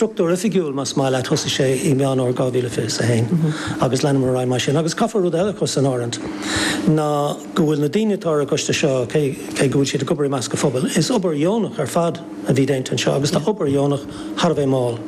struchtúr oifigiúil, más maith leat, thosaigh sé i Meán Fhómhair 2021 agus leanamar ar aghaidh mar sin. Agus caithfear rud eile a chur san áireamh ná go bhfuil na daoine atá ar an gcoiste seo, cé go bhfuil siad ag obair i measc an phobail, is obair dheonach ar fad a bhí déanta anseo agus tá obair dheonach thar a bheith mall.